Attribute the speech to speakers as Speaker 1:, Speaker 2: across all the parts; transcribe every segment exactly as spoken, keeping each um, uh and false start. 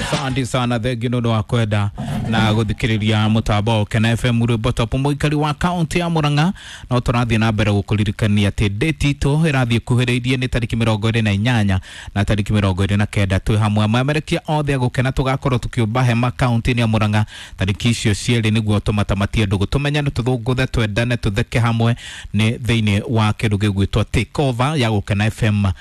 Speaker 1: Asante sana, thengiũ nĩ ũndũ wa kwenda na gũthikĩrĩria mũtambo wa Kena F M rwĩmbo top mũikari wa kaunti ya Murang'a. No tũrathiĩ na mbere gũkũririkania atĩ date itũ ĩrathiĩ kuhĩrĩirie nĩ tarĩki mĩrongo ĩrĩ na inyanya na tarĩki mĩrongo ĩrĩ na kenda. Twĩ hamwe amemerekia othe a gũkena tũgakorwo tũkĩũmba hema kaunti-inĩ ya Murang'a tarĩki icio cierĩ nĩguo tũmatamatie ndũgũ, tũmenyane, tũthũngũthe, twendane, tũtheke hamwe nĩ thĩinĩ wa kĩndũ gĩgwĩtwo take over ya Gũkena F M uh,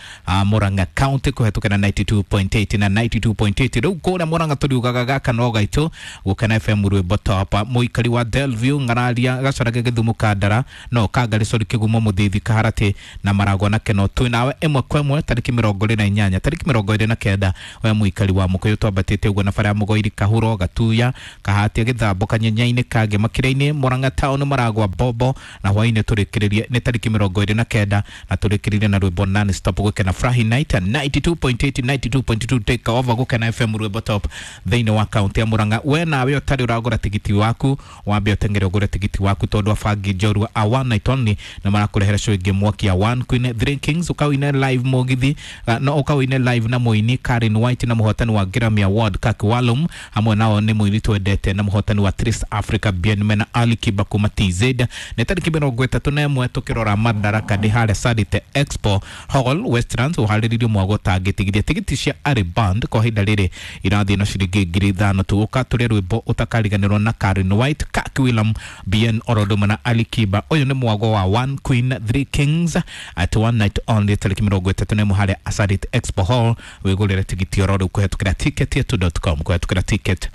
Speaker 1: Murang'a County kũhetũkĩra ninety two point eight na ninety two point eight. Rĩu kũrĩa Murang'a tũriugaga gaka no gaitũ Gũkena F M rwĩmbo top. Mũikari wa Delview Ng'araria Gacarage Gĩthumo Kandara no Kangari sorry Kĩgumo Mũthithi Kaharatĩ na Maragwa na Keno twĩ nawe ĩmwe kwa ĩmwe tarĩki mĩrongo ĩrĩ na inyanya tarĩki mĩrongo ĩrĩ na kenda. We mũikari wa Mũkũyũ twambatĩte ũguo na bara ya Mũgoiri Kahuro Gatuya Kahatia Gĩthambo Kanyenyainĩ Kangĩ Makĩria-inĩ Murang'a Town Maragwa Bobo na hwainĩ tũrĩkĩrĩrie nĩ tarĩki mĩrongo ĩrĩ na kenda na tũrĩkĩrĩrie na rwĩmbo non stop Gũkena Furahi Night ninety two point eight ninety two point two take over Gũkena F M rwĩmbo top thĩinĩ wa kaunti ya Murang'a. We nawe ũtarĩ ũragũra tigiti waku wambe ũteng'ere ũgũre tigiti waku tondũ abangi njorua a one night only na marakũrehera show ĩngĩ mwaki ya One Queen Three Kings ũkawine live mũgithi uh, no ũkawine live na mũini Karen White na mũhotani wa Grammy Award Kaki Walum hamwe nao nĩ mũini twendete na mũhotani wa Trace Africa Bien Mena Ali Kiba kuma T Z. Nĩ tarĩki mĩrongo ĩtatũ na ĩmwe tũkĩrora Madaraka ndĩ harĩa Sadite Expo Hall Westlands ũharĩrĩirio mwago ũtangĩtigithia. Tigiti cia Ari Band kwa ihinda rĩrĩ irathiĩ na ciringi ngiri ithano tu. Ũka tũrĩe rwĩmbo ũtakariganĩrwo na Karen White, Kaki William, Bien Orodoma na Ali Kiba. Ũyũ nĩ mwago wa One Queen Three Kings at one night only tarĩki mĩrongo ĩtatũ na ĩmwe harĩa Asarit Expo Hall. Wĩgũrĩre tigiti oro rĩu kũhetũkĩra ticket yetu dot com kũhetũkĩra ticket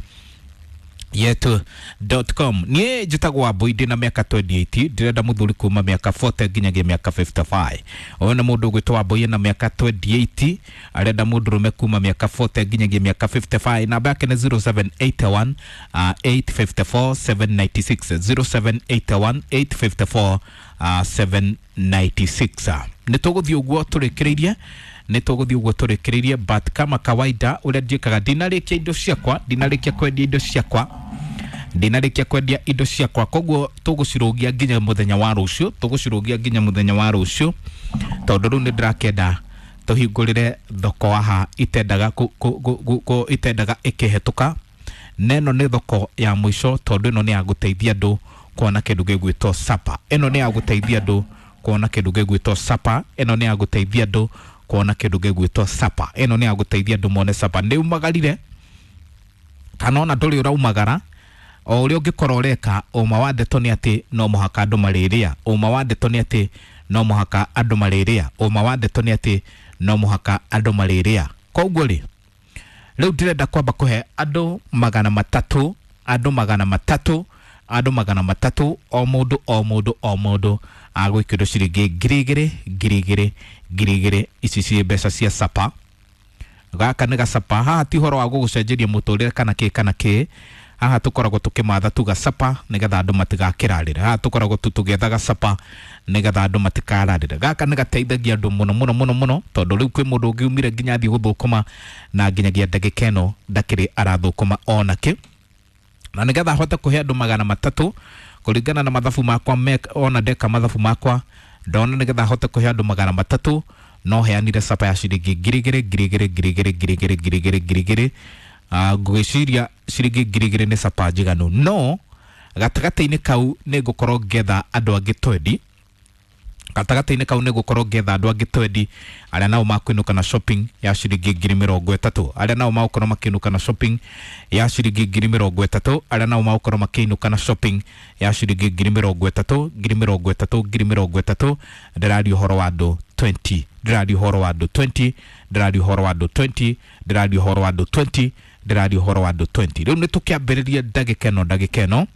Speaker 1: yetu dot com. Niĩ njĩtagwo Wambui ndĩ na mĩaka twenty eight ndĩrenda mũthuri kuma mĩaka forty nginyagia mĩaka fifty five. Ũyũ nĩ mũndũ ũgwĩtwo Wambui ena mĩaka twenty eight arenda mũndũrũme kuma mĩaka forty nginyagia mĩaka fifty five. Namba yake nĩ zero seven eight one, uh, eight five four, seven nine six, zero seven eight one, eight five four, uh, seven nine six. Nĩ tũgũthiĩ ũguo tũrĩkĩrĩirie nĩ tũgũthiĩ ũguo tũrĩkĩrĩirie but kama kawaida ũrĩa njĩkaga ndinarĩkia indo ciakwa ndinarĩkia kwendia indo ciakwa ndinarĩkia kwendia indo ciakwa koguo tũgũcirũgia nginya mũthenya wa rũciũ tũgũcirũgia nginya mũthenya wa rũciũ tondũ rĩu nĩ ndĩrakĩenda tũhingũrĩre thoko haha itendaga kũ, kũ, kũ, kũ, itendaga ĩkĩhetũka. Neno nĩ thoko ya mũico tondũ ĩno nĩ ya gũteithia andũ kuona kĩndũ gĩgwĩtwo sapa. Ĩno nĩ ya gũteithia andũ kuona kĩndũ gĩgwĩtwo sapa. Ĩno nĩ ya gũteithia andũ kuona kĩndũ gĩgwĩtwo sapa. Ĩno nĩ ya gũteithia andũ mone sapa. Nĩ umagarire kana ona ndũrĩ ũraumagara o ũrĩa ũngĩkorwo ũreka ũma wa ndeto nĩ atĩ no mũhaka andũ marĩrĩa ũma wa ndeto nĩ atĩ no mũhaka andũ marĩrĩa ũma wa ndeto nĩ atĩ no mũhaka andũ marĩrĩa. Koguo rĩ rĩu ndĩrenda kwamba kũhe andũ magana matatũ andũ magana matatũ andũ magana matatũ o mũndũ o mũndũ o mũndũ agwĩkĩrwo ciringi ngiri igĩrĩ ngiri igĩrĩ ngiri igĩrĩ. Ici ciĩ mbeca cia sapa. Gaka nĩ gacapa. Haha ti ũhoro wa gũgũcenjeria mũtũrĩre kana kĩ kana kĩ. Haha tũkoragwo tũkĩmatha tu gacapa nĩgetha andũ matigakĩrarĩre. Haha tũkoragwo tu tũgĩetha gacapa nĩgetha andũ matikararĩre. Gaka nĩ gateithagia andũ mũno mũno mũno mũno tondũ rĩu kwĩ mũndũ ũngĩ umire nginya athiĩ gũthũkũma na nginyagia ndagĩka ĩno ndakĩrĩ arathũkũma onakĩ. Na nĩgetha ahote kũhe andũ magana matatũ kũringana na mathabu makwa mek, ona ndeka mathabu makwa ndona nĩgetha ahote kũhe andũ magana matatũ no heanire sapa ya ciringi ngiri igĩrĩ ngiri igĩrĩ ngiri igĩrĩ ngiri igĩrĩ ngiri igĩrĩ ngiri igĩrĩ. Uh, ngwĩciria ciringi ngiri igĩrĩ nĩ sapa njiganu no gatagatĩ-inĩ kau nĩ ngũkorwo ngĩetha andũ angĩ twendi gatagatĩ-inĩ kau nĩ ngũkorwo ngĩetha andũ angĩ twendi arĩa nao makũinũka na shopping ya ciringi ngiri mĩrongo ĩtatũ arĩa nao magũkorwo makĩinũka na shopping ya ciringi ngiri mĩrongo ĩtatũ arĩa nao magũkorwo makĩinũka na shopping ya ciringi ngiri mĩrongo ĩtatũ ngiri mĩrongo ĩtatũ ngiri mĩrongo ĩtatũ. Ndĩraria ũhoro wa andũ twenty ndĩraria ũhoro wa andũ twenty ndĩraria ũhoro wa andũ twenty ndĩraria ũhoro wa andũ twenty ndĩraria ũhoro wa andũ twenty. Rĩu nĩ tũkĩambĩrĩrie ndagĩka ĩno ndagĩka ĩno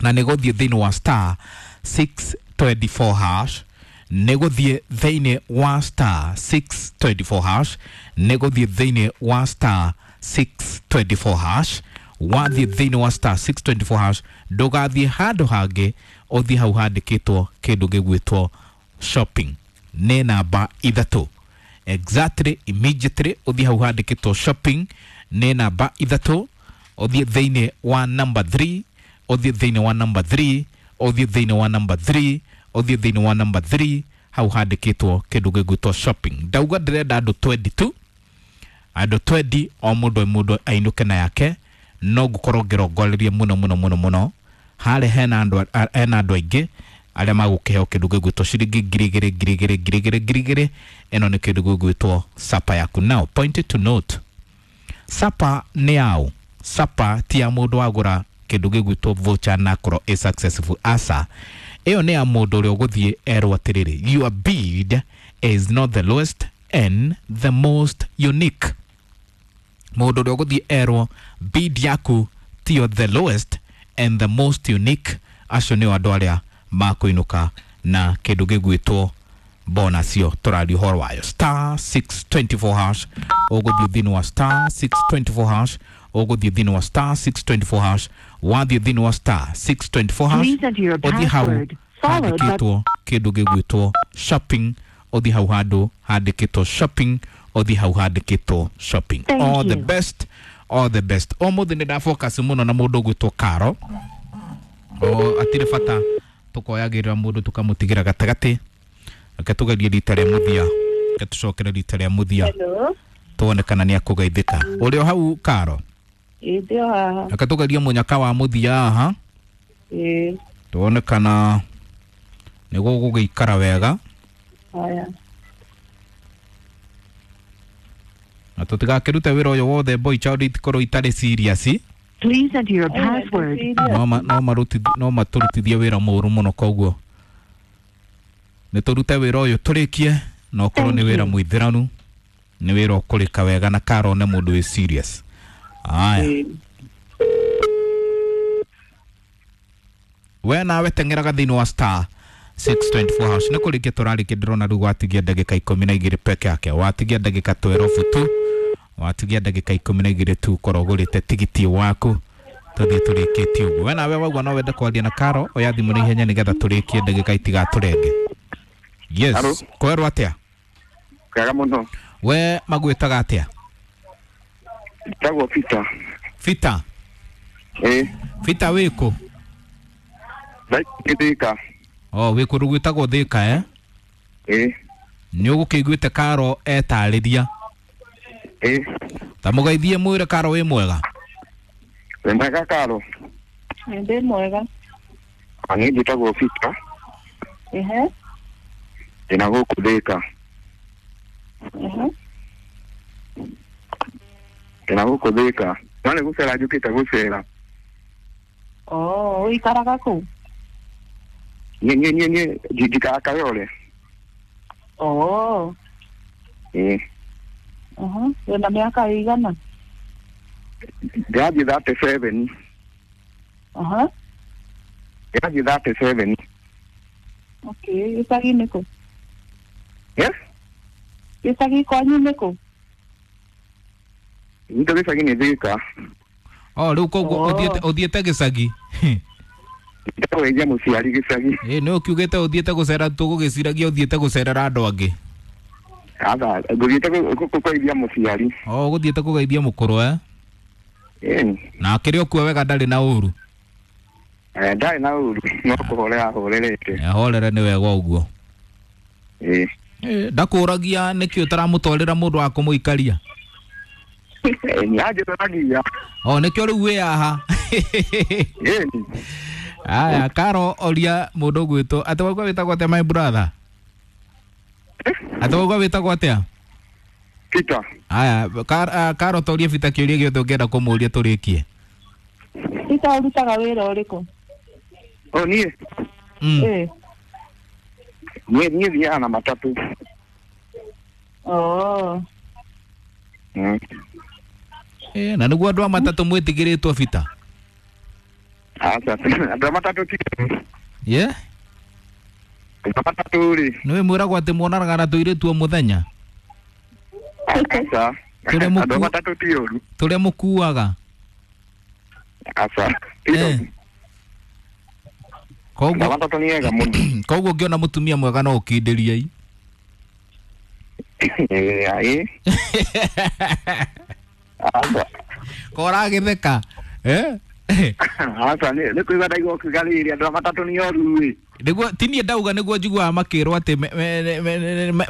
Speaker 1: na nĩ gũthiĩ thĩinĩ wa star six twenty four hash nĩ gũthiĩ thĩinĩ wa star six twenty four hash nĩ gũthiĩ thĩinĩ wa star six twenty four hash wathiĩ thĩinĩ wa star six twenty four hash ndũgathiĩ handũ hangĩ ũthiĩ hau handĩkĩtwo kĩndũ gĩgwĩtwo shopping nĩ namba ithatũ exactly immediately ũthiĩ hau handĩkĩtwo shopping nĩ namba ithatũ ũthiĩ thĩinĩ wa number three ũthiĩ thĩinĩ wa number three ũthiĩ thĩinĩ wa number three ũthiĩ thĩinĩ wa number three hau handĩkĩtwo kĩndũ gĩgwĩtwo shopping. Ndauga ndĩrenda andũ twenty two Andũ twendi o mũndũ o mũndũ ainũke na yake. No ngũkorwo ngĩrongoreria mũno mũno mũno mũno harĩa hena andũ hena andũ aingĩ arĩa magũkĩheo kĩndũ gĩgwĩtwo ciringi ngiri igĩrĩ ngiri igĩrĩ ngiri igĩrĩ ngiri igĩrĩ. Ĩno nĩ kĩndũ gĩgwĩtwo sapa yaku. Now point to note, sapa nĩ yaũ? Sapa ti ya mũndũ wagũra kĩndũ gĩgwĩtwo voucher na akorwo ĩ successful. Aca, ĩyo nĩ ya mũndũ ũrĩa ũgũthiĩ erwo atĩrĩrĩ, your bid is not the lowest and the most unique. Mũndũ ũrĩa ũgũthiĩ erwo bid yaku tiyo the lowest and the most unique, acio nĩo andũ arĩa makũinũka na kĩndũ gĩgwĩtwo bonus yo tũraria ũhoro wayo. Star six twenty-four hash, ũgũthiĩ thĩinĩ wa star six twenty-four hash, ũgũthiĩ thĩinĩ wa star six twenty-four hash, wathiĩ thĩinĩ wa star six twenty-four hash, ũthiĩ hau handĩkĩtwo kĩndũ gĩgwĩtwo shopping, ũthiĩ hau handũ handĩkĩtwo shopping, ũthiĩ hau handĩkĩtwo shopping. All the best, all the best. Ũmũthĩ nĩ ndafocus mũno na mũndũ ũgwĩtwo Karo. O atirĩ bata tũkoyagĩrĩra mũndũ tũkamũtigĩra gatagatĩ. Reke tũgerie rita rĩa mũthia, reke tũcokere rita rĩa mũthia tuone kana nĩ akũgeithĩka. Ũrĩ o hau Karo?
Speaker 2: Ĩĩ ndĩ o haha.
Speaker 1: Reke tũgerie mũnyaka wa mũthia haha.
Speaker 2: Ĩĩ.
Speaker 1: Tuone kana nĩ gũgũgĩikara wega.
Speaker 2: Haya.
Speaker 1: Na tũtigakĩrute wĩra ũyũ wothe boy child itikorwo itarĩ serious.
Speaker 3: Please enter your password.
Speaker 1: No ma no marutithie no matũrutithie wĩra mũru mũno, koguo nĩ tũrute wĩra ũyũ tũrĩkie, na ũkorwo nĩ wĩra mũithĩranu, nĩ wĩra ũkũrĩka wega na Karo nĩ mũndũ wĩ serious. Aya. We nawe teng'eraga thĩinĩ wa star six twenty-four hash. Nĩ kũrĩkia tũrarĩkia, ndĩrona rĩu watigia ndagĩka ikũmi na igĩrĩ peke yake, watigia ndagĩka twelve tu, watigia ndagĩka ikũmi na igĩrĩ tu ũkorwo ũgũrĩte tigiti waku tũthiĩ tũrĩkĩtie ũguo. We nawe waigua no wende kwaria na Karo, oya thimũ na ihenya nĩgetha tũrĩkie ndagĩka itigatũrenge. Yes, kwerwo atĩa?
Speaker 4: Kwega mũno.
Speaker 1: We magwĩtaga atĩa?
Speaker 4: Njĩtagwo Peter.
Speaker 1: Peter?
Speaker 4: Ĩĩ.
Speaker 1: Peter wĩkũ?
Speaker 4: Thĩka.
Speaker 1: Oh, wĩ kũndũ gwĩtagwo Thĩka eh?
Speaker 4: Ĩĩ.
Speaker 1: Nĩ ũgũkĩiguĩte Karo etarĩria?
Speaker 4: Ĩĩ.
Speaker 1: Ta mũgeithie mwĩre Karo wĩ mwega.
Speaker 4: Wĩ mwega Karo?
Speaker 2: Ndĩ mwega.
Speaker 4: Niĩ njĩtagwo Peter.
Speaker 2: Ehe.
Speaker 4: Ndĩna gũkũ Thĩka.
Speaker 2: Ehe.
Speaker 4: Ndĩna gũkũ Thĩka. No nĩ gũcera njũkĩte gũcera.
Speaker 2: Oh, ũikaraga kũ?
Speaker 4: Niĩ niĩ niĩ niĩ njikaraga Kayole.
Speaker 2: Oh.
Speaker 4: Ĩĩ.
Speaker 2: Aha, wĩna mĩaka ĩigana?
Speaker 4: Ndĩrathiĩ thirty-seven.
Speaker 2: Aha.
Speaker 4: Ndĩrathiĩ thirty-seven.
Speaker 2: Okay, gĩcagi nĩ kũ?
Speaker 4: Yes?
Speaker 2: Gĩcagi kwanyu nĩ kũ?
Speaker 4: Gwitũ gĩcagi nĩ Thĩka.
Speaker 1: Oh, rĩu koguo ũthiĩte ũthiĩte gĩcagi?
Speaker 4: Ndĩrageithia mũciari gĩcagi.
Speaker 1: Ĩĩ, nĩ ũkiugĩte ũthiĩte gũcera, tũgũgĩciragia ũthiĩte gũcerera andũ angĩ.
Speaker 4: Aca, ngũthiĩte kũgeithia mũciari.
Speaker 1: Oh, ũgũthiĩte kũgeithia mũkũrũ eh?
Speaker 4: Ĩĩ.
Speaker 1: Na akĩrĩ o kuo wega, ndarĩ na ũru?
Speaker 4: Eh, ndarĩ na ũru, no kũhorera ahorerete.
Speaker 1: Ahorere nĩ wega ũguo.
Speaker 4: Ĩĩ.
Speaker 1: Ĩĩ, ndakũragia nĩkĩ ũtaramũtwarĩra mũndũ wa kũmũikaria?
Speaker 4: Nĩ anjũragia.
Speaker 1: Oh, nĩkĩo rĩu wĩ haha.
Speaker 4: Ĩĩ.
Speaker 1: Aya, Karo oria mũndũ ũgwĩtwo atĩ waigua wĩtagwo atĩa my brother? Atĩ waigua wĩtagwo atĩa?
Speaker 4: Peter.
Speaker 1: Aya, Karo toria Peter kĩũria gĩothe ũngĩenda kũmũũria tũrĩkie.
Speaker 2: Peter ũrutaga wĩra ũrĩkũ?
Speaker 4: Oh, niĩ?
Speaker 2: Ĩĩ.
Speaker 4: Niĩ niĩ thiaga na matatũ.
Speaker 2: Oh.
Speaker 4: Mm.
Speaker 1: Eh, na nĩguo andũ a matatũ mwĩtigĩrĩtwo Peter?
Speaker 4: Aca, andũ a matatũ ti.
Speaker 1: Yeah?
Speaker 4: Andũ a matatũ rĩ.
Speaker 1: Nĩwe mwĩragwo atĩ mwonanaga na tũirĩtu o mũthenya?
Speaker 4: Aca. Andũ a matatũ ti ũru.
Speaker 1: Tũrĩa mũkuaga?
Speaker 4: Aca.
Speaker 1: Eh. Koguo
Speaker 4: andũ a matatũ nĩ ega mũno.
Speaker 1: Koguo ũngĩona mũtumia mwega no ũkindĩrie.
Speaker 4: Ĩĩ, ĩĩ. Aca.
Speaker 1: Koragĩtheka. Eh?
Speaker 4: Aca, nĩ kũigua ndaigua ũkiuga rĩrĩ andũ a matatũ nĩ oru ĩ.
Speaker 1: Nĩguo ti niĩ ndauga, nĩguo njiguaga makĩrwo atĩ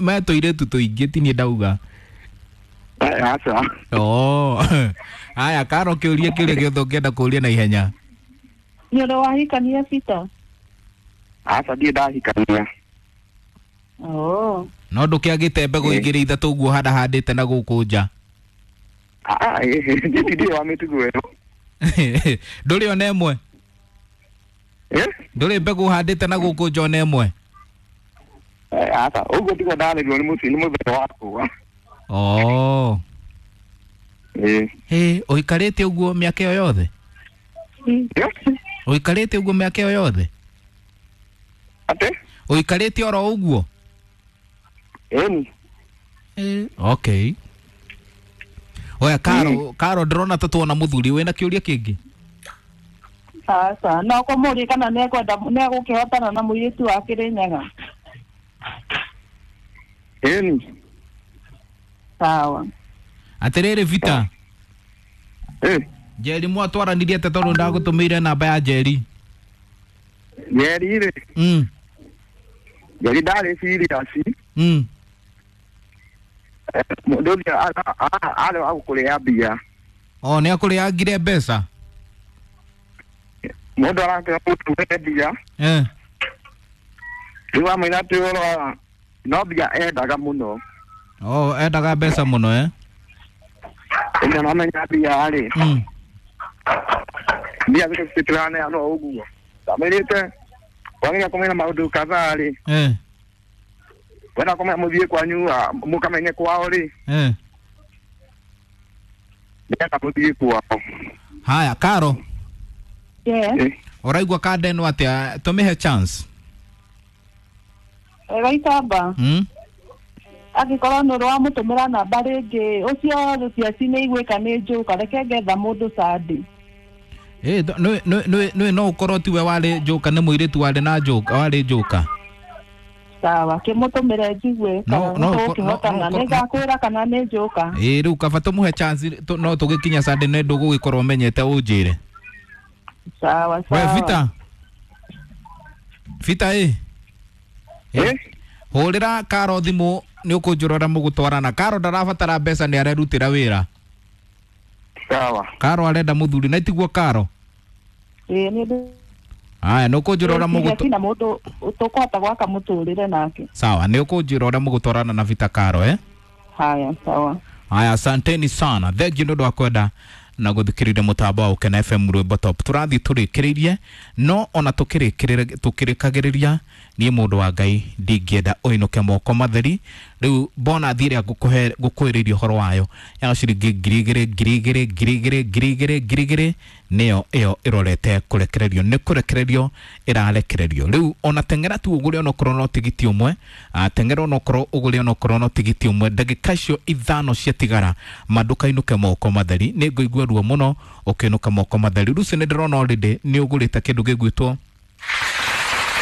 Speaker 1: me tũirĩtu tũingĩ, ti niĩ ndauga.
Speaker 4: Aca.
Speaker 1: Oh. Haya Karo kĩũria kĩrĩa gĩothe ũngĩenda kũũria na ihenya.
Speaker 2: Nĩ ũrĩ wahikania Peter?
Speaker 4: Aca ndirĩ ndahikania.
Speaker 2: Oh.
Speaker 1: No ndũkĩagĩte mbegũ igĩrĩ ithatũ ũguo handahandĩte na gũkũ nja.
Speaker 4: Ah, ndirĩ wa mĩtugo ĩyo.
Speaker 1: Ndũrĩ ona ĩmwe?
Speaker 4: Eh?
Speaker 1: Ndũrĩ mbegũ ũhandĩte na gũkũ nja ona ĩmwe?
Speaker 4: Aca, ũguo tiguo ndarĩrwo nĩ mũciĩ nĩ mũthee wakwa.
Speaker 1: Oh.
Speaker 4: Ĩĩ.
Speaker 1: Hĩ, ũikarĩte ũguo mĩaka ĩyo yothe? Ũikarĩte ũguo mĩaka ĩyo yothe?
Speaker 4: Atĩ?
Speaker 1: Ũikarĩte oro ũguo?
Speaker 4: Ĩni.
Speaker 1: Eh, okay. Oya Karo, Karo ndĩrona ta tuona mũthuri wĩna kĩũria kĩngĩ.
Speaker 2: Aca, no kũmũria kana nĩekwenda nĩegũkĩhotana na mũirĩtu wa Kĩrĩnyaga.
Speaker 4: Ĩni.
Speaker 2: Sawa.
Speaker 1: Atĩrĩrĩ Vita.
Speaker 4: Eh.
Speaker 1: Njeri mwatwaranirie atĩa tondũ ndagũtũmĩire namba ya Njeri?
Speaker 4: Njeri rĩ.
Speaker 1: Mm.
Speaker 4: Njeri ndarĩ serious.
Speaker 1: Mm.
Speaker 4: Mũndũ ũcio arĩ wa gũkũrĩa mbia.
Speaker 1: Oh, nĩ akũrĩangire mbeca?
Speaker 4: Mũndũ arakĩra mũndũ mbia.
Speaker 1: Eh.
Speaker 4: Rĩu amwĩra atĩ ũhoro no mbia endaga mũno.
Speaker 1: Oh, endaga mbeca mũno eh?
Speaker 4: Ĩno namenya mbia rĩ.
Speaker 1: Mm.
Speaker 4: Mbia thikũ ici tũraneanwo ũguo. Ndamwĩrĩte wagĩrĩire kũmenya maũndũ kadhaa rĩ.
Speaker 1: Eh.
Speaker 4: Wenda kũmenya mũthiĩ kwanyu mũkamenye kwao rĩ.
Speaker 1: Eh.
Speaker 4: Ndĩrenda mũthiĩ kwao.
Speaker 1: Haya Karo.
Speaker 2: Yes.
Speaker 1: Ũraigua kanda ĩno atĩa? Tũmĩhe chance.
Speaker 2: Gaitamba.
Speaker 1: Mm.
Speaker 2: Angĩkorwo nĩ ũrĩ wamũtũmĩra namba rĩngĩ ũcio rũciaci nĩ igwĩka nĩ njũka reke ngetha mũndũ Sunday.
Speaker 1: Eh, nĩ nĩ nĩ no ũkorwo tiwe warĩ njũka nĩ mũirĩtu warĩ na njũka warĩ njũka.
Speaker 2: Sawa, kĩmũtũmĩre njigue kana nĩtũgũkĩhotana nĩngakwĩra kana nĩ njũka.
Speaker 1: Ĩĩ rĩu kaba tũmũhe chance no tũgĩkinya Sunday nĩ ndũgũgĩkorwo ũmenyete ũnjĩre.
Speaker 2: Sawa sawa.
Speaker 1: We Vita. Vita ĩ.
Speaker 4: Eh?
Speaker 1: Hũrĩra Karo thimũ nĩ ũkũnjũra ũrĩa mũgũtwarana. Karo ndarabatara mbeca nĩ arerutĩra wĩra.
Speaker 4: Sawa.
Speaker 1: Karo arenda mũthuri na tiguo Karo?
Speaker 2: Ĩĩ nĩ.
Speaker 1: Aya nĩ ũkũnjĩra ũrĩa mũgũtũ
Speaker 2: na mũndũ tũkũhota gwaka mũtũrĩre nake.
Speaker 1: Sawa, nĩ ũkũnjĩra ũrĩa mũgũtwarana na Vita Karo eh?
Speaker 2: Haya, sawa.
Speaker 1: Haya, asanteni sana. Thank you nĩ ũndũ wa kwenda na gũthikĩrĩria mũtambo wa Ũkena F M Rwĩmbo Top. Tũrathiĩ tũrĩkĩrĩirie no ona tũkĩrĩkĩrĩria tũkĩrĩkagĩrĩria niĩ mũndũ wa Ngai ndingĩenda ũinũke moko matheri. Rĩu bonathi ĩrĩa ngũkũhe ngũkwĩrĩirie ũhoro wayo ya ciringi ngiri igĩrĩ ngiri igĩrĩ ngiri igĩrĩ ngiri igĩrĩ ngiri igĩrĩ nĩyo ĩyo ĩrorete kũrekererio nĩ kũrekererio ĩrarekererio. Rĩu ona teng'era tu ũgũre onokorwo no tigiti ũmwe, teng'era onokorwo ũgũre onokorwo no tigiti ũmwe, ndagĩka icio ithano ciatigara ma ndũkainũke moko matheri. Nĩ ngũigua ruo mũno ũkĩinũka moko matheri. Rũciũ nĩ ndĩrona already nĩ ũgũrĩte kĩndũ gĩgwĩtwo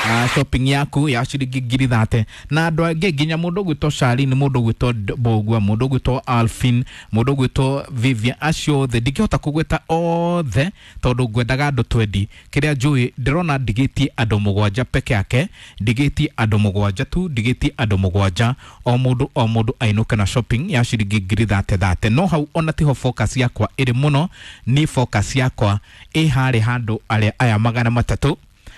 Speaker 1: Uh, shopping yaku ya ciringi ngiri thate na andũ angĩ nginya mũndũ ũgwĩtwo Charlene, mũndũ ũgwĩtwo Mbũgua, mũndũ ũgwĩtwo Alfin, mũndũ ũgwĩtwo Vivian, acio othe ndingĩhota kũgweta othe tondũ ngwendaga andũ twendi. Kĩrĩa njũĩ ndĩrona ndigĩtie andũ mũgwanja peke yake, ndigĩtie andũ mũgwanja tu, ndigĩtie andũ mũgwanja, o mũndũ o mũndũ ainũke na shopping ya ciringi ngiri thate thate. No hau ona tiho focus yakwa ĩrĩ mũno, ni focus yakwa ĩ harĩ handũ arĩa aya magana matatũ.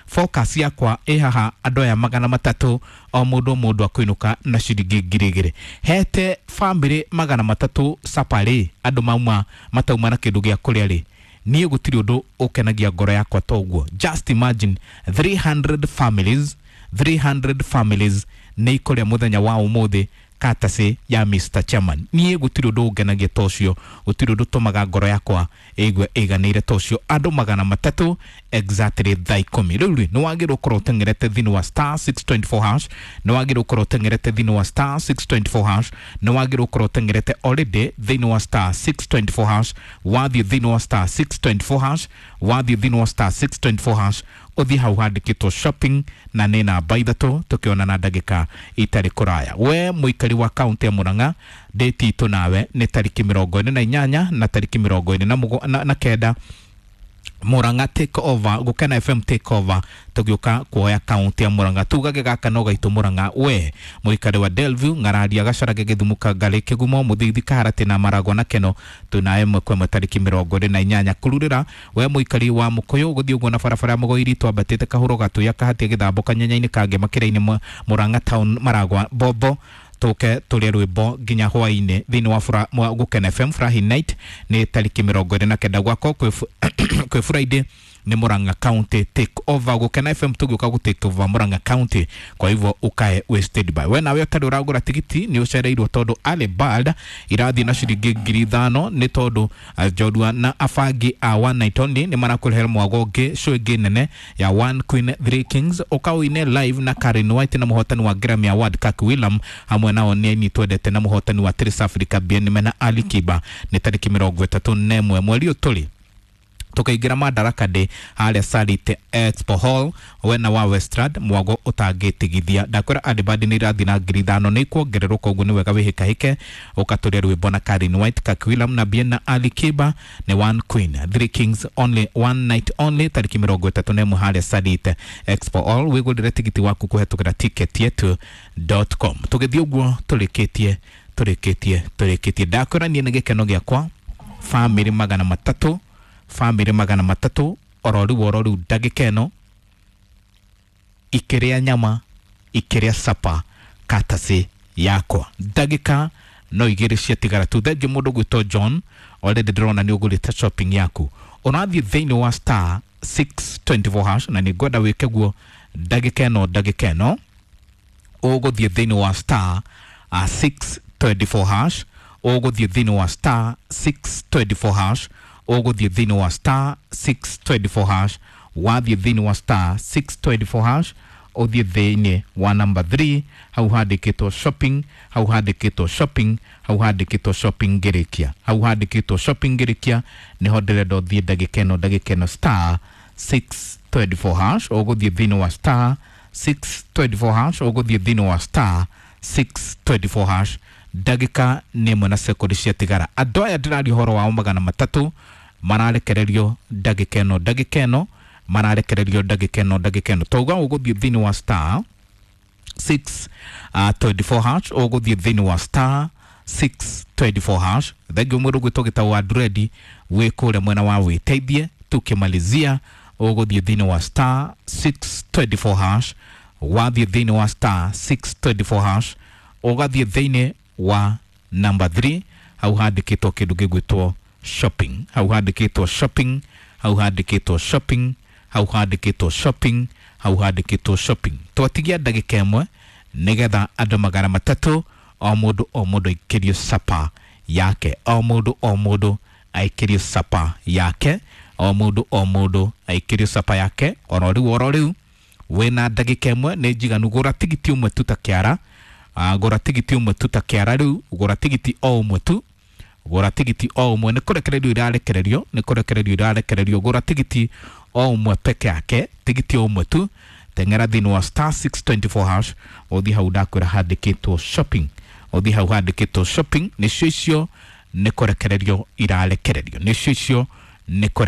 Speaker 1: Focus yakwa ĩ haha andũ aya magana matatũ, o mũndũ o mũndũ akũinũka na ciringi ngiri igĩrĩ. Hete family magana matatũ saparĩ andũ mauma matauma na kĩndũ gĩa kũrĩa rĩ, niĩ gũtirĩ ũndũ ũkenagia ngoro yakwa ta ũguo. Just imagine three hundred families, three hundred families nĩ ikũrĩa mũthenya wa ũmũthĩ katase ya Mister Chairman. Niĩ gũtirĩ ũndũ ũngenagia ta ũcio, gũtirĩ ũndũ ũtũmaga ngoro yakwa ĩigue ĩiganĩire ta ũcio. Andũ magana matatũ exactly thaa ikũmi. Rĩu rĩ nĩ wagĩrĩirwo gũkorwo ũteng'erete thĩinĩ wa star six twenty four hash, nĩ wagĩrĩirwo gũkorwo ũteng'erete thĩinĩ wa star six twenty four hash, nĩ wagĩrĩirwo gũkorwo ũteng'erete already thĩinĩ wa star six twenty four hash. Wathiĩ thĩinĩ wa star six twenty four hash, wathiĩ thĩinĩ wa star six twenty four hash, ũthiĩ hau handĩkĩtwo shopping na nĩ namba ithatũ, tũkĩonana ndagĩka itarĩ kũraya. We mũikari wa kaunti ya Murang'a, date itũ nawe nĩ tarĩki mĩrongo ĩna na inyanya na tarĩki mĩrongo ĩna na, na, na kenda Murang'a take over, Gukena F M take over, tugiuka kuoya kaunti ya Murang'a. Tugage gaka no gaitu Murang'a we muikari wa Delview ng'araria gacarage githumu kangari kigumo muthithi kaharati na maragwa na keno twina ĩmwe kwa ĩmwe tariki mĩrongo ĩrĩ na inyanya kururĩra we muikari wa Mukuyu guthii uguo na barabara ya Mugoiri twambatĩte kahuro gatuya kahatia gĩthambo kanyenya-inĩ kangĩ makĩra-inĩ Murang'a town Maragwa Bobo tuke turie rwimbo nginya hwaini thiini wa fura, Gukena F M Furahi Night ni tariki mirongo iri na kenda gwako kwi Friday ni Murang'a County take over. Gukena F M tugiuka gu take over Murang'a County, kwa hivyo ukae we stand by. We nawe utari uragura tigiti ni ucereirwo tondu Ali Bald irathi na ciringi ngiri ithano ni tondu Njorua na abangi a One Night Only ni marakurehera mwago ungi show ingi nene ya One Queen Three Kings ukauine live na Karen White na muhotani wa Grammy Award Kak Willam hamwe nao ni aini twendete na muhotani wa Trace Africa Bien mena Ali Kiba ni tariki mirongo itatu na ĩmwe mweri ũyũ tukaingira Madaraka Day haria Sarit Expo Hall wena wa Westrad mwago utangĩtigithia. Ndakwĩra Adibadi nĩ irathi na ngiri ithano nĩ ikuongererwo, koguo nĩ wega wĩhĩkahĩke ũkatũria rwĩmbo na Karen White, Kak Willam na Bien na Ali Kiba ni One Queen Three Kings Only One Night Only tariki mĩrongo ĩtatũ na ĩmwe haria Sarit Expo Hall. Wĩgũrĩre tigiti waku kũhetũkĩra ticket yetu dot com. Tũgĩthiĩ ũguo tũrĩkĩtie tũrĩkĩtie tũrĩkĩtie. Ndakwĩra niĩ nĩ gĩkeno gĩakwa famĩlĩ magana matatũ famĩlĩ magana matatũ oro rĩu oro rĩu ndagĩka ĩno ikĩrĩa nyama ikĩrĩa sapa katasi yakwa ndagĩka no igĩrĩ ciatigara tu. Thengiũ mũndũ gwĩtwo John already ndĩrona nĩ ũgũrĩte shopping yaku, ũrathiĩ thĩinĩ wa star six twenty four hash na nĩ ngwenda wĩke guo ndagĩka ĩno ndagĩka ĩno ũgũthiĩ thĩinĩ wa star six twenty four hash ũgũthiĩ thĩinĩ wa star six twenty four hash ũgũthiĩ thĩinĩ wa star six twenty four hash wathiĩ thĩinĩ wa star six twenty four hash ũthiĩ thĩinĩ wa number three hau handĩkĩtwo shopping hau handĩkĩtwo shopping hau handĩkĩtwo shopping ngĩrĩkia hau handĩkĩtwo shopping ngĩrĩkia nĩho ndĩrenda ũthiĩ ndagĩka ĩno ndagĩka ĩno star six twenty four hash ũgũthiĩ thĩinĩ wa star six twenty four hash ũgũthiĩ thĩinĩ wa star six twenty four hash ndagĩka nĩ ĩmwe na sekondi ciatigara. Andũ aya ndĩraria ũhoro wao magana matatũ mararekererio ndagĩka ĩno ndagĩka ĩno mararekererio ndagĩka ĩno ndagĩka ĩno. Twauga ũgũthiĩ thĩinĩ wa star six twenty four hash ũgũthiĩ thĩinĩ wa star six twenty four hash. Thengiũ mũndũ gwĩtwo gĩtau wa Dredi wĩ kũrĩa mwena wa wĩteithie. Tukĩmalizia ũgũthiĩ thĩinĩ wa star six twenty four hash wathiĩ thĩinĩ wa star six twenty four hash ũgathiĩ thĩinĩ wa number three hau handĩkĩtwo kĩndũ gĩgwĩtwo shopping hau handĩkĩtwo shopping hau handĩkĩtwo shopping hau handĩkĩtwo shopping hau handĩkĩtwo shopping. Twatigia ndagĩka ĩmwe nĩgetha andũ magana matatũ o mũndũ o mũndũ aikĩrio sapa yake o mũndũ o mũndũ aikĩrio sapa yake o mũndũ o mũndũ aikĩrio sapa yake oro rĩu oro rĩu wĩna ndagĩka ĩmwe nĩ njiganu. Gũra tigiti ũmwe tu ta kĩara gũra tigiti ũmwe tu ta kĩara rĩu gũra tigiti o ũmwe tu gũra tigiti o ũmwe nĩ kũrekererio irarekererio nĩ kũrekererio irarekererio gũra tigiti o ũmwe peke yake tigiti o ũmwe tu teng'era thĩinĩ wa star six twenty four hash ũthiĩ hau ndakwĩra handĩkĩtwo shopping ũthiĩ hau handĩkĩtwo shopping nĩcio icio nĩ kũrekererio irarekererio nĩcio icio nĩ